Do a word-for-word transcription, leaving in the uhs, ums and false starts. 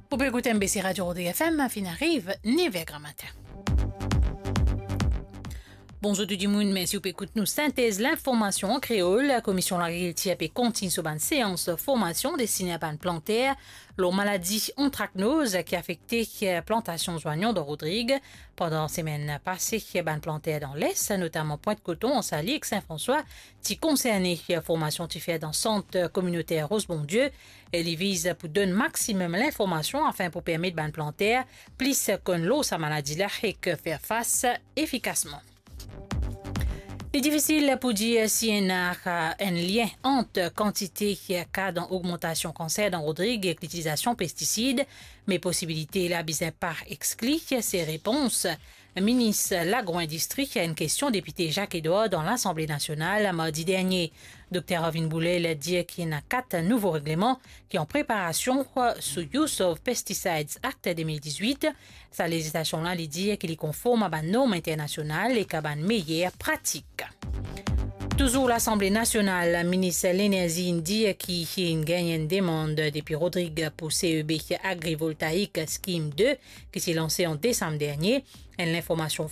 Ou pe ekout M B C Radio Rodrigues F M, finn ariv nev er gramatin. Bonzour tou dimoun, mersi ou pe ekout nou. Sintez linformasion an kreol. Komision Lagrikiltir pe kontign so bann seans formasion destine a bann planter lor maladi antraknoz ki afekte plantasion zwanyon dan Rodrig. Pandan semenn pase, bann planter dan Les, notaman Pwint Koton, Ansalye ek Sin Franswa, ti konserne. Formasion ti fer dan sant kominoter Roze Bondie e li viz pou donn maximum linformasion afin pou permet bann planter plis konn lor sa maladi la ek fer fas efikasman. Li difisil pou dir si ena enn lien ant kantite ka dan ogmantasion kanser dan Rodrig ek litilizasion pestisid, me posibilite la bizin pa exkli, se repons Minis Lagro-Indistri a enn kestion depite Jacques Edouard dan Lasanble Nasional mardi dernie. Dokter Arvin Boulel dir ki ena kat nouvo regleman ki an preparasion sou Use of Pesticides Act de mil dizwit. Sa lezislasion la, li dir ki li konform a bann norm internasional ek a bann meyer pratik. Touzour Lasanble Nasional, Minis Lenerzi inn dir ki inn gagn enn demann depi Rodrig pou C E B Agrivoltaïque Scheme de, ki ti lanse an desam dernie. Enn linformasion